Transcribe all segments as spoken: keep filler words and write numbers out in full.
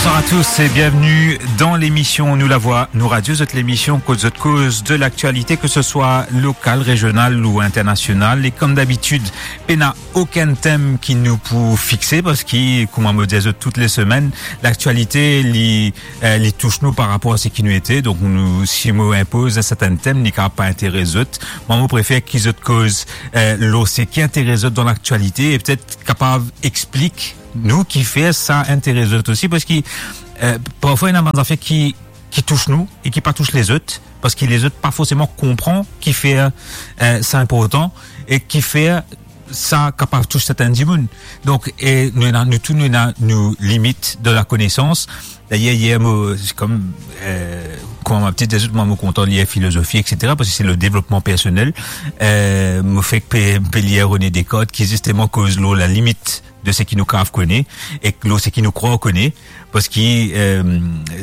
Bonsoir à tous et bienvenue dans l'émission Nou Lavwa, Nou Radio, zot lemision kot zot koz de laktialite, ke se swa lokal, rezional ou internasional. E kom dabitid, pena okenn tem ki nou pou fixe, parski, kouma mo dir zot tou le semenn, laktialite, li, eh, li tous nou par rapor a seki nou ete. Donk, nou, si mo inpoz enn sertenn tem, li kapav pa interes zot. Mwa, mo prefer ki zot koz, eh, lor seki interes zot dan laktialite e petet kapav explik nou kifer sa interes zot osi, parski, eh, parfwa, ena bann zafer ki, ki tous nou e ki pa tous lezot, parski lezot pa forseman konpran kifer, eh, sa inportan e kifer sa kapav tous serten dimoun. Donk, e nou ena, nou tou, nou ena nou limit de lakonesans. Dayer, yer, mo, se kom, eh, kouma mo ti dir zot, mwa, mo kontan lir filozofi, et cetera, parski se le devlopman personel. Eh, mo fek pe, pe lir René Descartes, ki zisteman koz lor lalimit de seki nou kapav kone, ek lor seki nou krwar kone, parski, eh,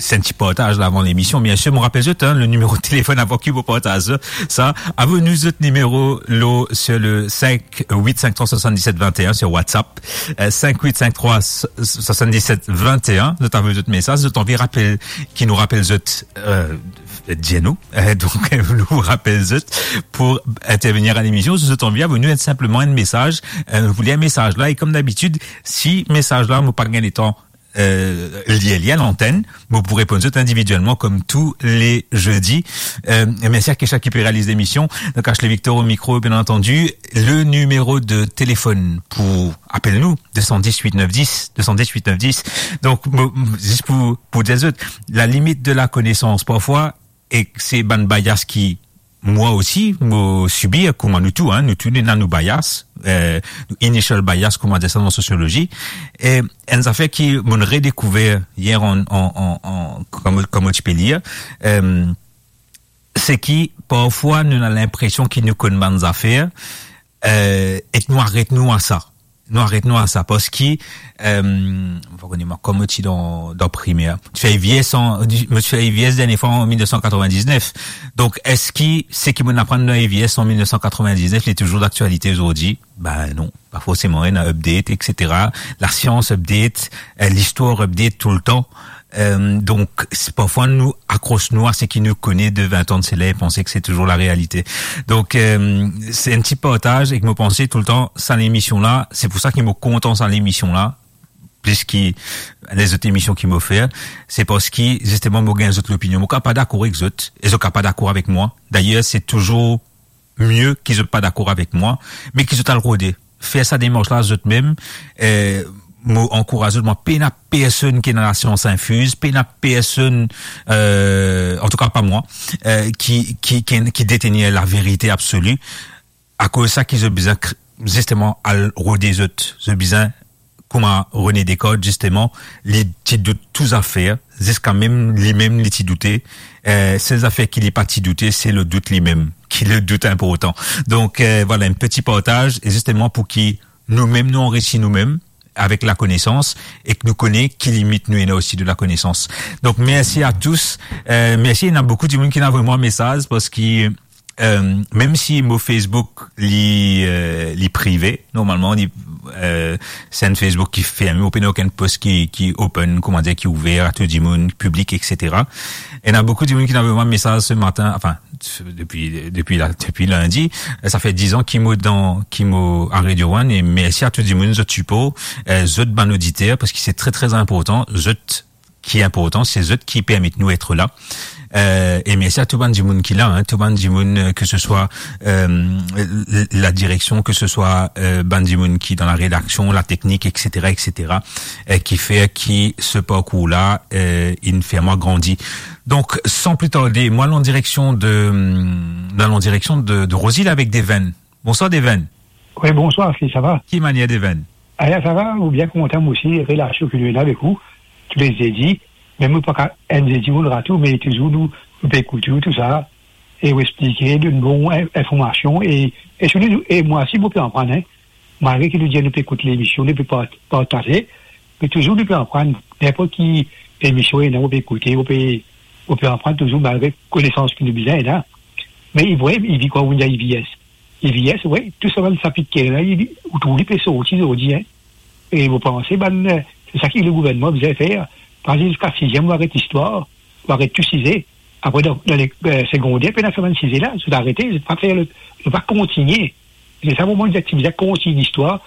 se enn ti partaz la avan lemision. Biensir, mo rapel zot, hein, le nimero de telefon avan ki mo partaz sa. Avoy nou zot nimero lor, sur le cinq huit cinq trois soixante-dix-sept vingt et un sur WhatsApp. Eh, cinq huit cinq trois soixante-dix-sept vingt et un, zot avoy zot mesaz, zot anvi rapel, ki nou rapel zot, eh, dir nou. Eh, donk, nou rapel zot pou intervenir a lemision. Si zot anvi, avoy nou enn, sinpleman enn mesaz. Eh, nou pou lir mesaz la. E kom dabitid, si mesaz la, mo pa gagn letan, eh, lir li a lantenn, mo pou reponn zot individielman kom tou le zedi. Eh, e mersi a Kesha ki pe realiz lemision. Donk, Ashley Victor au micro, bien entendu. Le nimero de telefon pou apel nou, deux cent dix huit neuf dix, deux cent dix huit neuf dix. Donk, mo, mo, zis pou, pou dir zot, lalimit de lakonesans, parfwa, e se bann bias ki mwa osi, mo sibi, kouma nou tou, hein, nou tou, nou ena nou bias, eh, nou initial bias, kouma dir sa dan sosiolozi. E enn zafer ki mo'nn redekouver yer an, an, an, an, kom, kom mo ti pe lir, eh, se ki parfwa nou ena linpresion ki nou konn bann zafer, eh, ek nou aret nou a sa. Nou aret nou a sa, parski, eh, mo pa kone mwa, kom mo ti dan, dan primer, mo ti fer IVS an, mo ti fer IVS dernie fwa an mil nef san katrovin-diznef. Donk, eski seki mo'nn aprann dan IVS an mil nef san katrovin-diznef, li touzour daktialite ozordi? Ben non, pa forseman, ena update, et cetera. Lasians update, eh, listwar update toultan. Eh, donk, se, parfwa nou akros nou a seki nou kone de vin an de sela e panse ki se touzour larealite. Donk, eh, se enn ti partaz ek mo panse toultan sa lemision la, se pou sa ki mo kontan sa lemision la, plis ki lezot emision ki mo fer, se parski, zisteman, mo gagn zot lopinion. Mo kapav pa dakor ek zot, e zot kapav pa dakor avek mwa. Dayer, se touzour mie ki zot pa dakor avek mwa, me ki zot al rode. Fer sa demars la zot mem, eh, mo ankouraz zot, mwa, pena personn ki ena lasians infiz, pena personn, eh, antouka pa mwa, eh, ki, ki, ki, ki detenir laverite absoli. Akoz sa ki zot bizin kr-, zisteman al rode zot, zot bizin kouma René Descartes, zisteman, li ti dout tou zafer, ziska mem limem li ti doute. Eh, sel zafer ki li pa ti doute, se le dout limem, ki le dout inportan. Donk, eh, vwala, enn peti partaz, e zisteman pou ki noumem nou anrisi noumem avek lakonesans, e ki nou kone ki limit nou ena osi de lakonesans. Donk, mersi a tous. Eh, mersi, ena boukou dimoun ki ena avoy mwa mesaz, parski Eh, mem si mo Facebook li, eh, li prive, normalman, li, eh, se enn Facebook ki ferme, ou pena okenn post ki, ki open, kouma dir, ki ouver a tou dimoun, piblik, et cetera. Ena boukou dimoun ki ena avoy mwa mesaz se matin, anfin, depi, depi la, depi lindi, eh, sa fer diz an ki mo dan, ki mo a Radio One, e mersi a tou dimoun, zot sipor, eh, zot bann oditer, parski se tre, tre inportan, zot ki inportan, se zot ki permet nou et la. Eh, e mersi a tou bann dimoun ki la, hein, tou bann dimoun, eh, ke se swa, eh, l-, la direksion, ke se swa, eh, bann dimoun ki dan la redaksion, la teknik, et cetera, et cetera, eh, ki fer ki se parkour la, eh, inn fer mwa grandi. Donk, san pli tarde, mo al an direksion de, mo al an direksion de, de Rosil avek Deven. Bonswar, Deven. Wi, bonswar, Ashley, sa va? Ki manier, Deven? Aya, sa va, mo bien kontan, mo osi, relasion ki nou ena avek ou, tou le zedi, mem nou pa ka enn zedi, mo rate ou, me touzour nou, nou pe ekout ou, tou sa, e ou explike, donn bon in-, informasion, e, e sirtou, e mwa osi, mo pe aprann, hein. Malgre ki nou dir nou pe ekout lemision, nou pe part-, partaze, me touzour nou pe aprann, ninport ki lemision ena, ou pe ekoute, ou pe, ou pe aprann touzour, malgre konesans ki nou bizin ena. Me, wi, e pi kan ou dir IVS, IVS, wi, tou sa bann sapit ki ena, li, ou trouv li pe sorti zordi, hein. E mo panse, bann, eh, se sa ki le gouvernman bizin fer, Parski ziska siziem, ou aret listwar, ou aret tou size. Apre, dan, dan le, eh, segonder, pena sa bann size la, zot arete, zot pa fer le, zot pa kontigne. Se sa mo, mo dir, ti bizin kontign listwar,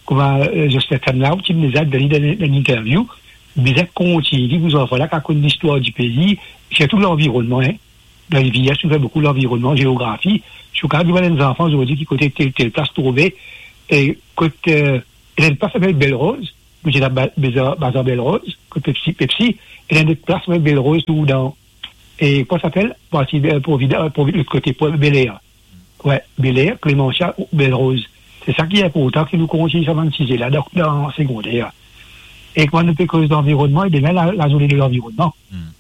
kouma, eh, Jocelyn Tanlao, ti bizin dir dan, dan, dan interview, bizin kontign, pou zanfan la, kapav konn listwar dipei, sirtou lanvironnman, hein. Dan Rivier, nou fer boukou lanvironnman, zeografi. Si ou kapav demann enn zanfan zordi ki kote tel, tel plas trouve, e kot, eh, ena enn plas apel Bel Roz, nou ti ena ba-, Bazar, Bazar Bel Roz, kot Pepsi, Pepsi, ena enn lot plas apel Bel Roz tou dan, e kouma sa apel? Parti, eh, Provida-, eh, Provi-, lot kote, Pro-, Bel Air. Wi, Bel Air, Clémentia, Bel Roz. Se sa ki inportan, ki nou kontign sa bann size la, dan, dan segonder. E kouma nou pe koz lanvironnman, e demin, la, lazourne de lanvironnman. Hmm.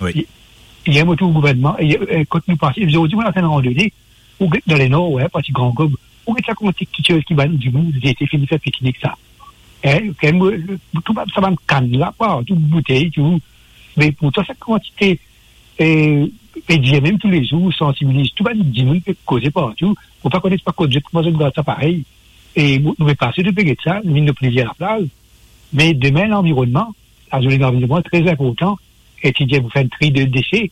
Wi. Ye-, yer mo trouv gouvernman, e, e, kot nou pase, zordi, mo al fer enn randone, ou get dan Lenor, wi, parti Gran Gob, ou get sa kouma ti, ti, ti, ki bann dimoun, zot ete fini fer piknik sa. Hein, kan mo, tou bann, sa bann kann la, partou, boutey, tou. Me pourtan, sa kantite, e, pe dir mem toulezour, sansibiliz tou bann dimoun, pe koze partou, mo pa kone pa kot zot, kouma zot gard sa parey. E nou, nou pe pase, nou pe get sa, nou vinn nou plezi a laplaz. Me demin, lanvironnman, lazourne lanvironnman, tre inportan, e ti dir pou fer enn tri de dese,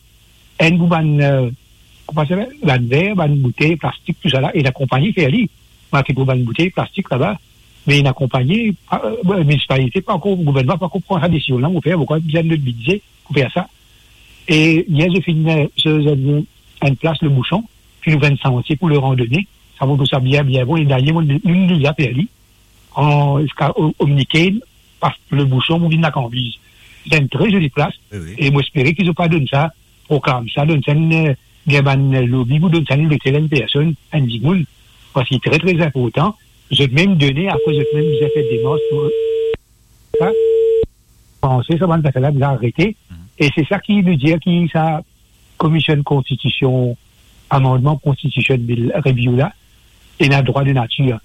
enn pou bann, eh, kouma sa apel, bann ver, bann boutey, plastik, tousala, e lakonpagni fer li. Marke pou bann boutey, plastik laba, me lakonpagni, pa, eh, minisipalite pa ankor, gouvernman pa ankor pran sa desizion la, mo fer, mo krwar bizin lot bidze pou fer sa. E yer, zot finn, eh, zot, zot, enn plas Le Bouchon, finn ouver enn santie pou le randone, sa mo trouv sa bien, bien bon, e dayer, mo, nou, nou, nou, nou fer li, an, ziska O-, Omniquai, pas Le Bouchon, pou vinn Lakanbiz. Se enn tre zoli plas, wi, wi, e mo espere ki zot pa donn sa, proklam sa, donn sa enn, eh, gagn bann lobi pou donn sa enn lotel enn personn, enn dimoun, parski tre, tre inportan, zot mem done, apre zot mem bizin fer demars pou sa. Panse sa bann zafer la bizin arete, mhm, e se sa ki nou dir ki sa Komision Konstitision, amandman Constitution Bill Review la, ena drwa de natir.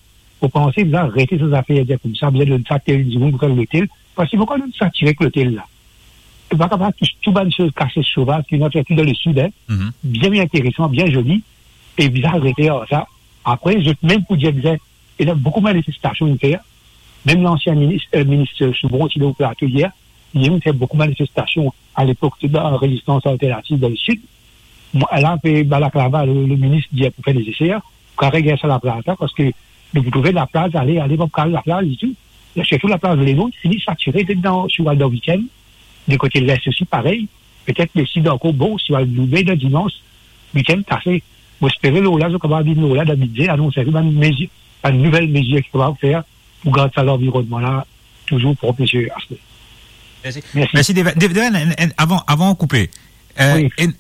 Mo panse, bizin arete sa zafer dir koumsa, bizin donn sa tel dimoun pou fer lotel, parski pou kan nou satir ek lotel la, nou pa kapav tous tou bann soz, kase sovaz, ki nou ena tou dan Lesid, hein. Mhm. Bien, bien interesan, bien zoli, e bizin arete ar sa. Apre, zot mem pou dir bizin, ena boukou manifestasion inn fer. Mem lansien minis, eh, minis Soubron ti dan plato yer, li inn fer boukou manifestasion alepok, ti dan Rezistans Alternativ dan Lesid. Mo, la, pe balaklava, le, le minis dir pou fer neseser, pou kapav gagn sa laplaz la, parski nou pou trouve laplaz, ale, ale, pa pou kapav laplaz ditou. Sirtou laplaz Lenor, fini satire, tet dan, si ou al dan Wit-Em, de kote Lins osi, parey, petet Lesid ankor, bon, si ou al Loubet dan Dimans, Wit-Em kase. Mo espere lor la, zot kapav vinn lor la, dan bidze, anons enpe bann mezir, bann nouvel mezir ki kapav fer pou gard sa lanvironnman la touzour prop, misie Asle. Mersi. Mersi. Mersi, Deven. Deven, Deven, en, en, avan, avan ou koupe, eh, wi, en,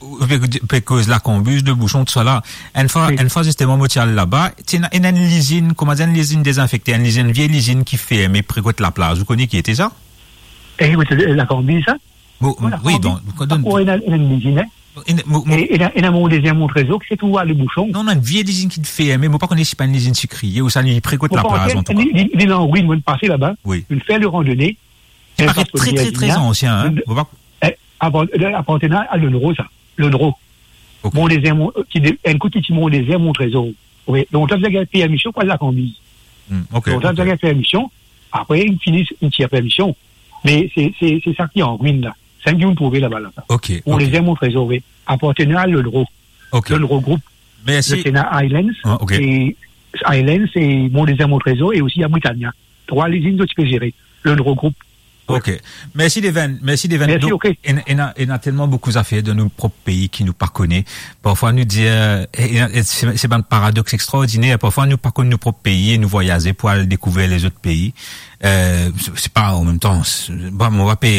ou pe, pe koz Lakanbiz, Le Bouchon, tousala. Enn fwa, wi, enn fwa, zisteman, mo ti al laba, ti ena, ena enn lizinn, kouma dir, enn lizinn dezinfekte, enn lizinn, vie lizinn ki ferme pre kot laplaz. Ou kone ki ete sa? Eh, wi, se Lakanbiz, sa? Bon, wi, donk, donk, ena, ena enn lizinn, hein? Ena, mo, mo, e, ena, ena Mont Dezir, Mont Trezor, ki se trouv a Le Bouchon. Non, non, enn vie lizinn ki ferme, mo pa kone si pa enn lizinn sikriye ouswa li pre kot laplaz, antouka. Li, li, li dan, wi, mo pase laba, wi, inn fer le randone. Li paret tre, tre, tre ansien, hein? Mo pa... Eh, avan, eh, apartenir a Lonro, sa. Lonro. Ok. Mont Dezir, Mont, ki de, enn kout ki ti Mont Dezir, Mont Trezor. Wi, lontan bizin gagn permision pou al Lakanbiz. Hmm, ok, ok. Lontan bizin gagn permision, apre, inn fini, inn tir permision. Me se, se, se sa ki an ruin la. Sa ki nou trouve laba la, sa. Ok, ok. Mont Dezir, Mont Trezor, wi. Apartenir a Lonro. Ok. Lonro Group. Mersi. Zot ena Highlands, ah, ok, e Highlands, e Mont Dezir, Mont Trezor, e osi a Britannia. Trwa lizinn zot ti pe zere. Lonro Group. Ok. Mersi, Deven. Mersi, Deven. Mersi, donk, ok. Ena, ena, ena telman boukou zafer dan nou prop pei ki nou pa kone. Parfwa nou dir, eh, eh, eh, se, se bann paradoks extraordiner. Parfwa nou pa konn nou prop pei e nou vwayaze pou al dekouver lezot pei. Eh, se, se pa, an mem tan, se, bon, mo pa pe,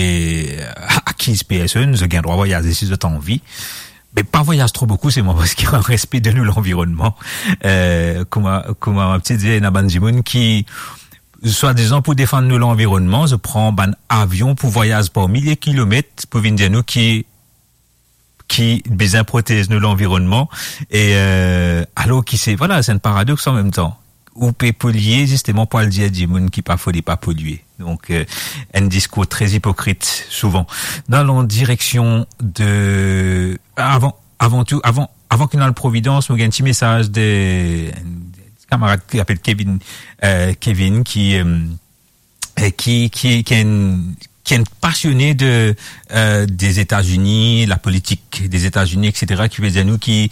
eh, akiz personn, zot gagn drwa vwayaze si zot anvi. Me pa vwayaz tro boukou, se mwa, parski an respe de nou lanvironnman. Eh, kouma, kouma mo ti dir, ena bann dimoun ki, swadizan pou defann nou lanvironnman, zot pran bann avion pou vwayaz par milie kilomet pou vinn dir nou ki ki bizin protez nou lanvironnman, e, eh, alor ki se, vwala, se enn paradoks an mem tan. Ou pe polie zisteman pou al dir dimoun ki pa fode pa polie. Donk, eh, enn diskour tre ipokrit, souvan. Dan la direksion de, avan, avan tou, avan, avan ki nou al Providence, mo gagn ti mesaz de enn kamarad ki apel Kevin, eh, Kevin ki, eh, eh, ki, ki, ki enn, ki enn pasione de, euh, des États-Unis, la politik des États-Unis, et cetera, ki pe dir nou ki,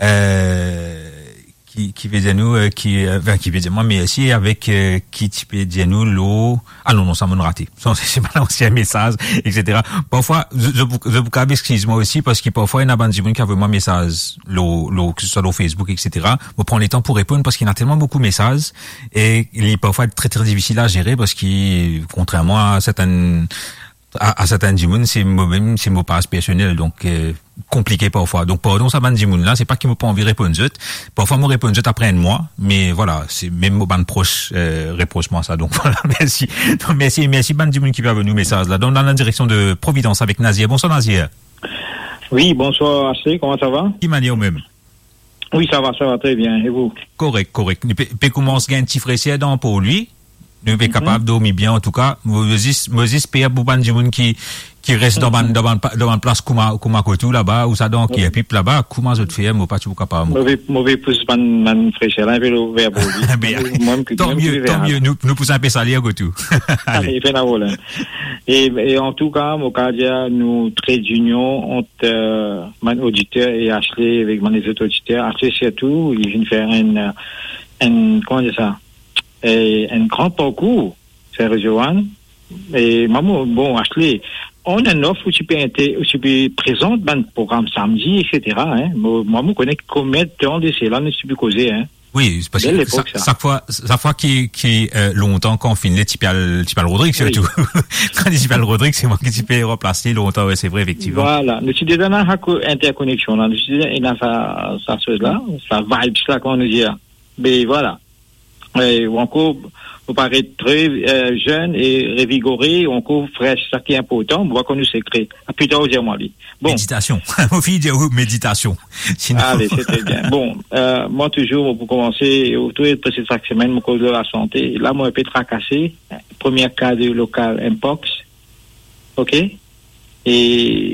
euh, ki, ki pe dir nou, euh, ki, euh, enfin, ki pe dir mwa mersi avek, euh, ki ti pe dir nou lor, ah non, non, sa mo'nn rate. Sa, se, se pa lansien mesaz, et cetera. Parfwa, zot, zot pou, zot pou kapav eskiz mwa osi, parski parfwa, ena bann dimoun ki avoy mwa mesaz lor, lor, ke se swa lor Facebook, et cetera. Mo pran letan pou reponn, parski ena telman boukou mesaz, e li parfwa tre, tre difisil a zere, parski, kontrerman a sertenn, a, a sertenn dimoun, se mo mem, se mo paz personel, donk, euh, konplike parfwa. Donk, pardon sa bann dimoun la, se pa ki mo pa anvi reponn zot. Parfwa, mo reponn zot apre enn mwa, me vwala, se mem mo bann pros, euh, repros mwa sa. Donk, vwala, mersi. Donk, mersi, mersi bann dimoun ki pe avoy nou mesaz la. Donk, dan la direksion de Providence avek Nazir. Bonswar, Nazir. Wi, bonswar, Ashley, kouma sa va? Ki manier ou mem? Wi, sa va, sa va tre bien. E vou? Korek, korek. Li pe, pe koumans gagn ti freser dan po li. Nou pe kapav dormi bien, antouka. Mo zis, mo zis per pou bann dimoun ki, ki res dan bann, dan bann pa-, dan bann plas kouma, kouma kot ou laba, ou sa dan Kierpip laba, kouma zot fer, mo pa ti pou kapav, mo. Mo pe, mo pe pous bann, bann freser la, enpe lor ver po li. Bien. Mwa, mem ki, tan mem ki mie, tan mie. Nou, nou pous enpe sale kot ou. Ale. Ale, pena problem. E, e antouka, mo kapav dir nou tre dinion ant, euh, bann oditer e Ashley avek bann lezot oditer. Ashley sirtou, li finn fer enn, euh, enn, kouma dir sa? E enn gran parkour, Sen Rozoann. E mwa, mo, bon, Ashley, on and off, ou ti pe inte-, ou ti pe prezant bann program samdi, et cetera, hein. Mo, mwa, mo kone konbien tan de sela nou ti pe koze, hein. Wi, parski sa, sak fwa, sak fwa ki, ki, euh, lontan kan finn le ti pe al, ti pe al Rodrig, sirtou. Kan li ti pe al Rodrig, se mwa ki ti pe ranplas li lontan, wi, se vre, efektivman. Vwala, nou ti deza ena sa ko-, interkoneksion la, nou ti deza ena sa, sa soz la, sa vibes la, kouma nou dir. Me vwala. E, ou ankor, ou paret tre, euh, zenn e revigore, ou ankor fresh, sa ki inportan, mo pa konn ou sekre. Pli tar ou dir mwa li. Bon. Meditasion. Mo finn dir ou meditasion. Sinon. Ale, se tre bien. Bon, euh, mwa touzour, pou koumanse, ou trouve preske sak semenn, mo koz lor lasante. La, mo enpe trakase. Premie ka de lokal mpox. Ok? E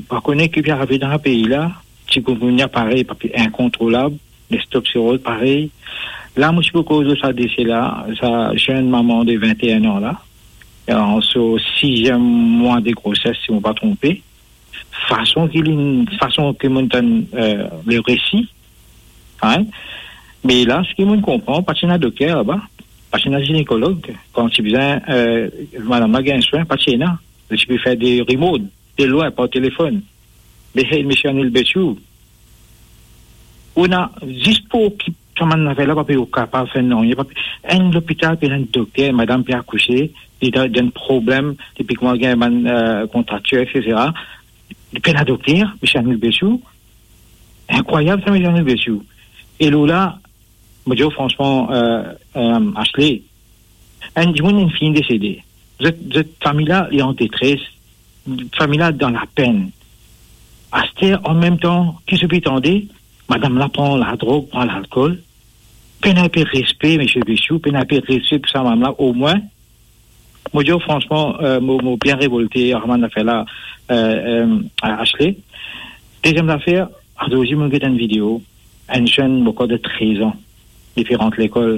pa kone ki pe arive dan pei la, chikungunya parey, pa pe inkontrolab, lestopsiroz parey. La, mo ti pou koz sa dese la, sa zenn mama de vinte-e-enn an la, an so siziem mwa de groses, si mo pa tronpe. Fason ki li, fason ki mo tann, euh, le resi, hein? Me la, seki mo konpran, pa ti ena dokter laba, pa ti ena zinekolog. Kan ti bizin, euh, madam la gagn swin, pa ti ena. Li ti pe fer de rimod, de lwin, par telefonn. Me hey, misie anil bet ou. Ou ena, zis pou okip sa bann zafer la, pa pe kapav fer nanye, pa pe, enn lopital, pe ena enn dokter, madam pe akouse, li dan, dan problem, depi kouma gagn bann, euh, kontraktir, et cetera. Li pena dokter, misie anil bet ou. Inkrwayab sa, misie anil bet ou. E lor la, mo dir ou fransman, euh, euh, Ashley, enn dimoun inn fini desede. Zot, zot fami la, li an detres. Fami la dan lapenn. Aster, an mem tan, ki zot pe tande, madam la pran ladrog, pran lalkol. Pena inpe respe, misie Besiou, pena inpe respe pou sa madam la, omwin. Mo dir ou fransman, euh, mo, mo bien revolte ar sa bann zafer la, euh, euh, Ashley. Deziem zafer, azordi mo get enn video, enn zenn, mo krwar de trez an, li pe rant lekol,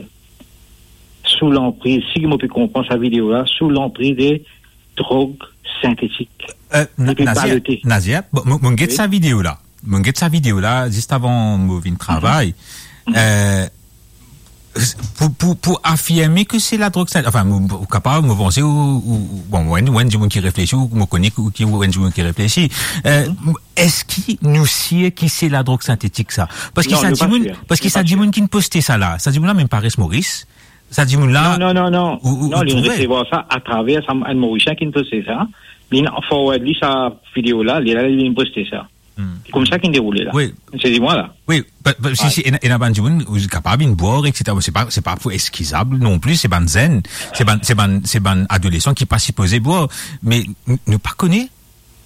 sou lanpriz, si mo pe konpran sa video la, sou lanpriz de drog sintetik. Euh, Na-, li pe Nazir, balote. Nazir, bon, mo, mo get sa video la. Mo get sa video la, zis avan mo vinn travay. Euh, pou, pou, pou afirme ke se ladrog sintetik, anfin, mo, mo kapav, mo panse, ou, ou, ou, bon, ou enn, ou enn dimoun ki reflesi, ou, mo kone ki, ki ou enn dimoun ki reflesi. Euh, eski nou sir ki se ladrog sintetik sa? Parski sa dimoun, parski sa dimoun ki'nn poste sa la, sa dimoun la mem pa res Moris. Sa dimoun la, non, non, non, non. Ou, ou, non, ou li trouve? Resevwar sa atraver sa, enn Morisien ki'nn poste sa. Li'nn forward li sa video la, li la, li'nn poste sa. Hmm. Koumsa ki'nn deroule la. Wi. Se dimoun la. Wi, pa, pa, si, si, ena, ena bann dimoun, ou kapav inn bwar, et cetera. Se pa, se pa pou eskizab non pli, se bann zenn, se bann, se bann, se bann adolesan ki pa sipoze bwar. Me n-, nou pa kone.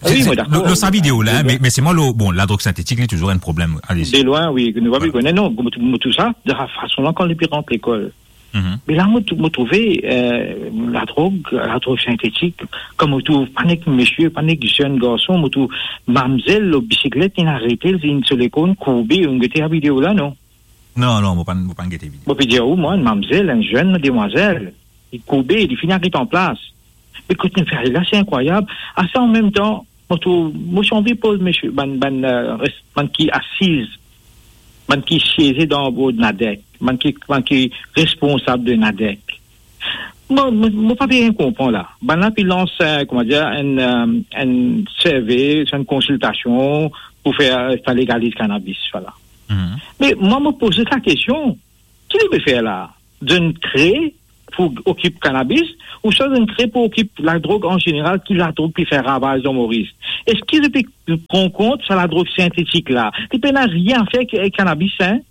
Wi, mo dakor. Lor sa video la, me, me se mwa, lor, bon, ladrog sintetik, li touzour enn problem. Alezi. De lwin, wi, nou pa pe kone. Non, mo, mo, tou sa, de la fason la, kan li pe rant lekol, Mhm. Me la, mo tou-, mo trouve, euh, ladrog, ladrog sintetik, kan mo trouv pa nek misie, pa nek zenn garson, mo trouv mamzel lor bisiklet, inn arete, inn sou lekor, inn kourbe, ou gete sa video la, non? Non, non, mo pa, mo pa gete video. Mo pe dir ou, mwa, enn mamzel, enn zenn demwazel, li kourbe, li finn aret anplas. Me kot nou fer la, se inkrwayab. Asa, an mem tan, mo trouv, mo ti anvi poz mesie, bann, bann, eh, res-, bann ki asiz, bann ki sieze dan bord Nadek, bann ki, bann ki responsab de Nadek. Mo, mo, mo pa bien konpran la. Bann la pe lans, eh, kouma dir, enn, eh, enn serve, enn konsiltasion pou fer, eh, sa legaliz kanabis, vwala. Mhm. Me mwa, mo poz sa kestion, ki li pe fer la? Zot inn kre pou okip kanabis, ouswa zot inn kre pou okip ladrog an zeneral, ki ladrog pe fer ravaz dan Moris? Eski zot pe pran kont sa ladrog sintetik la? Li pena nanye a fer ek kanabis, hein?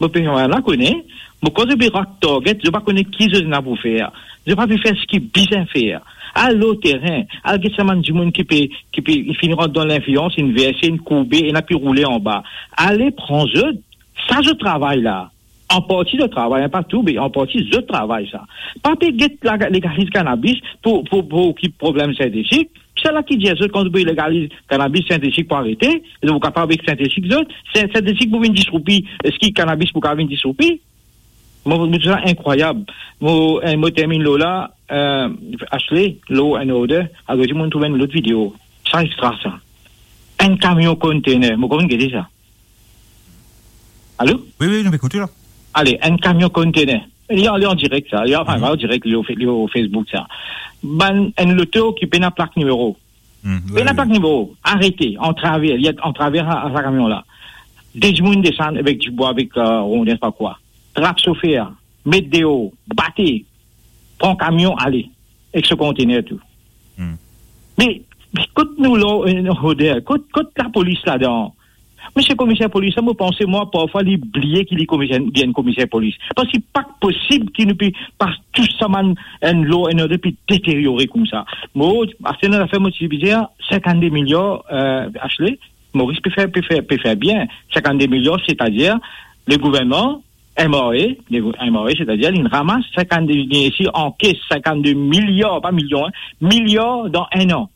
Mo pe, mo pa kone. Mo krwar zot pe rat target, zot pa kone ki zot ena pou fer. Zot pa pe fer seki bizin fer. Al lor terin, al get sa bann dimoun ki pe, ki pe, ki finn rant dan linflians, inn verse, inn kourbe, ena pe roule anba. Ale pran zot, sa zot travay la. An parti zot travay, hein, pa tou, me an parti zot travay sa. Pa pe get la, legaliz kanabis pou, pou, pou okip problem sintetik. Sela ki dir zot, kan zot pou legaliz kanabis, sintetik pou arete, zot pou kapav ek sintetik zot, sin-, sintetik pou vinn disroupi, eski kanabis pou kapav vinn disroupi? Mo, mo trouv sa inkrwayab. Mo, eh, mo terminn lor la, eh, Ashley, Law and Order, akoz mo trouv enn lot video. Sa extra sa. Enn kamion kontener, mo konn gete sa. Alo? Wi, wi, nou ekout la. Ale, enn kamion kontener. Li an, li an direk sa. Li an, anfin, mhm, an direk, li lor Fe-, li lor Facebook sa. Bann, enn loto ki pena plak nimero. Hmm, wi, pena wi, plak nimero. Arete, antrave, li antrave a, a sa kamion la. De dimoun desann avek dibwa, avek, eh, rondin, pa kwa. Trap sofer, met deor, bate, pran kamion, ale, ek so kontener tou. Hmm. Me, me kot nou la, eh, Roder, kot, kot lapolis ladan? Misie komiser polis la, mo panse, mwa, parfwa, li bliye ki li komiser, li enn komiser polis. Parski pa posib ki nou pe pas tou sa bann, enn law and order pe deteryore koumsa. Mo, aster nou lafer, mo ti bizin, sinkannde miliar, eh, Ashley, Moris pe fer, pe fer, pe fer bien. Sinkannde miliar, setadir, le gouvernman, M R A, le M R A, setadir, li ramas sinkannde, li esi ankes sinkannde miliar, pa milion, hein, miliar dan enn an.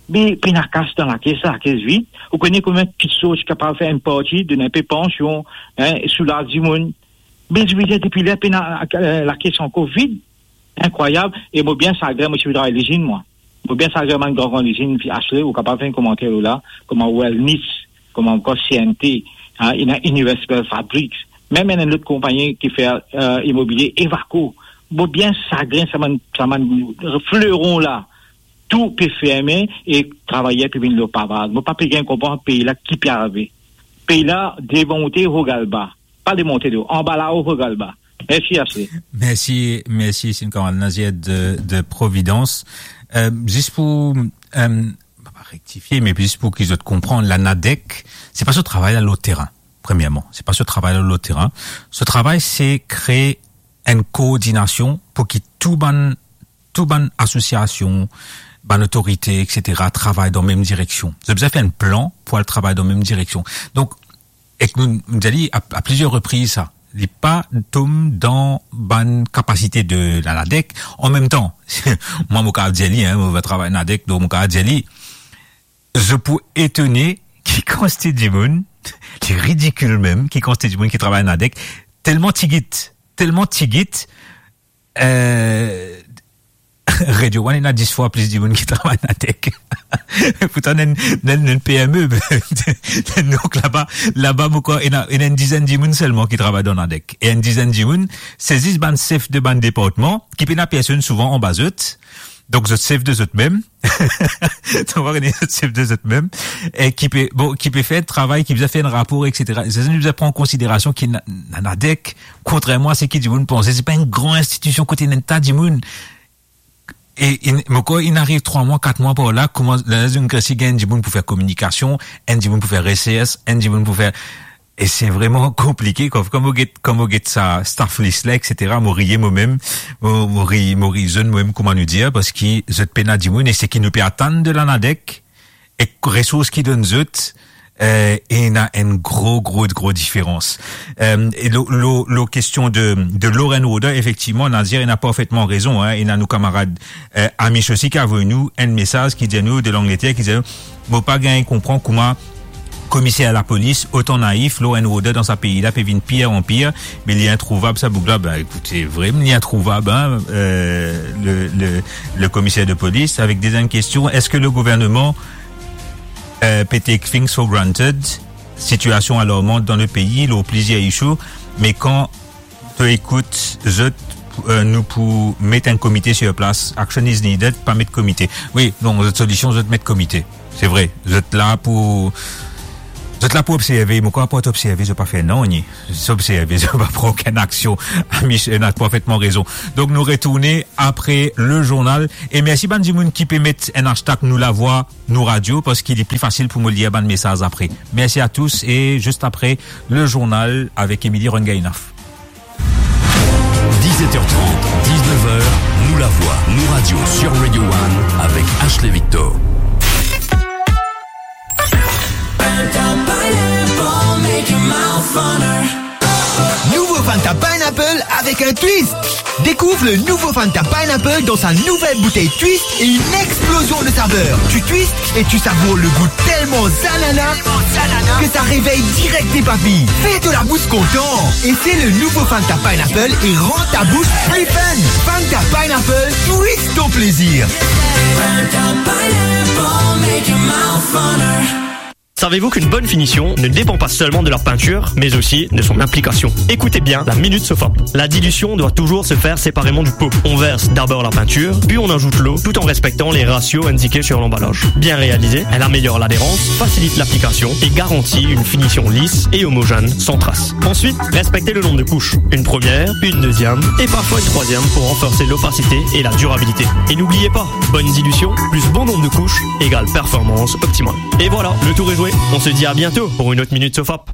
Me pena kas dan lakes la, lakes vid. Ou kone konbien kiksoz ki kapav fer enn parti, donn enpe pansion, hein, soulaz dimoun. Me zot bizin depi ler pena, eh, lakes ankor vid. Inkrwayab. E mo bien sagrin, mo ti travay lizinn, mwa. Mo bien sagrin, bann gran, gran lizinn, fi Ashley, ou kapav fer enn komanter lor la, kouma Wellness, kouma ankor C N T, hein, ena Universal Fabrics, mem ena enn lot konpagni ki fer, eh, imobilie, Evaco. Mo bien sagrin, sa bann, sa bann fleron la, tou pe ferme e travayer pe vinn lor pavaz. Mo pa pe gagn konpran pei la ki pe arive. Pei la, devan ou te, regal ba. Pa demonte do, anba lao, regal ba. Mersi, Ashley. Mersi, mersi, si enn kamarad Nazier de, de Providence. Eh, zis pou, eh, pa rektifie, me zis pou ki zot konpran, la NADEC, se pa so travay la lor terin, premierman. Se pa so travay la lor terin. So travay, se kree enn koordinasion pou ki tou bann, tou bann asosiasion, bann otorite, et cetera, travay dan mem direksion. Zot bizin fer enn plan pou al travay dan mem direksion. Donk, ek nou, nou dir li a, a plizier repriz sa, li pa tom dan bann kapasite de la NADEC. An mem tan, mwa, mo kav dir li, hein, mo pe travay NADEC, donk mo kav dir li, zot pou etone ki kantite dimoun, li ridikil mem, ki kantite dimoun ki travay NADEC, telman tigit, telman tigit, eh, Radio One ena dis fwa plis dimoun ki travay NADEC. Pourtan, nou enn, nou enn, nou enn P M E. Donk laba, laba, mo krwar, ena, ena enn dizenn dimoun selman ki travay dan NADEC. E enn dizenn dimoun, se zis bann sef de bann departman, ki pena personn souvan anba zot. Donk, zot sef de zot mem. Donk, zot sef de zot mem. E ki pe, bon, ki pe fer travay, ki bizin fer enn rapor, et cetera. Sa, nou bizin pran konsiderasion ki na, na, NADEC, kontrerman a seki dimoun panse, se pa enn gran institision kot ena enn ta dimoun. E, e, mo krwar, inn ariv trwa mwa, kat mwa par la, kouma, la, la, zot inn gresi gagn dimoun pou fer kominikasion, enn dimoun pou fer resers, enn dimoun pou fer, e se vreman konplike, kwa. Kan mo get, kan mo get sa staff list la, et cetera, mo riye momem, mo, mo ri, mo ri zot momem, kouma nou dir, parski zot pena dimoun, e seki nou pe atann de la NADEC, ek resours ki donn zot, eh, ena enn gro, gro, gro diferans. Eh, e lor, lor, lor kestion de, de law and order, efektivman, Nazier ena parfetman rezon, hein. Ena nou kamarad, eh, Amish osi ki avoy nou enn mesaz ki dir nou, de Langleter, ki dir nou, mo pa gagn konpran kouma Komiser lapolis, otan naif, law and order dan sa pei la pe vinn pir an pir, me li introuvab sa boug la. Ben, ekoute, vremem, li introuvab, hein, euh, le, le, le komiser de polis. Avek deziem kestion, eski le gouvernman, euh, pe take things for granted? Sitiasion alarman dan le pei, lor plizier issue, me kan to ekout zot, euh, nou pou met enn komite sur plas. Action is needed, pa met komite. Wi, non, zot solision, zot met komite. Se vre, zot la pou, zot la pou observe, mo krwar pa observe, zot pa fer nanye. Zot observe, zot pa pran okenn aksion. Amish, ena parfetman rezon. Donk, nou retourne apre le journal. E mersi bann dimoun ki pe met enn hashtag Nou Lavwa, Nou Radio, parski li pli fasil pou mo lir bann mesaz apre. Mersi a tous e zis apre le journal avek Emily Rongainaf. Dix-sept heures trente, dix-neuf heures, Nou Lavwa, Nou Radio sur Radio One avec Ashley Victor. Nouveau Fanta Pineapple avec un twist. Découvre le nouveau Fanta Pineapple dans sa nouvelle bouteille twist et une explosion de saveurs. Tu twists et tu savoures le goût tellement zanana que ça réveille direct tes papilles. Fais de la bouche content. Et c'est le nouveau Fanta Pineapple et rend ta bouche plus fun. Fanta Pineapple, twist ton plaisir. Savez-vous qu'une bonne finition ne dépend pas seulement de la peinture, mais aussi de son application ? Écoutez bien la Minute Sofap. La dilution doit toujours se faire séparément du pot. On verse d'abord la peinture, puis on ajoute l'eau, tout en respectant les ratios indiqués sur l'emballage. Bien réalisée, elle améliore l'adhérence, facilite l'application et garantit une finition lisse et homogène, sans trace. Ensuite, respectez le nombre de couches. Une première, une deuxième et parfois une troisième pour renforcer l'opacité et la durabilité. Et n'oubliez pas, bonne dilution plus bon nombre de couches égale performance optimale. Et voilà, le tour est joué. On se dit à bientôt pour une autre Minute Sofap.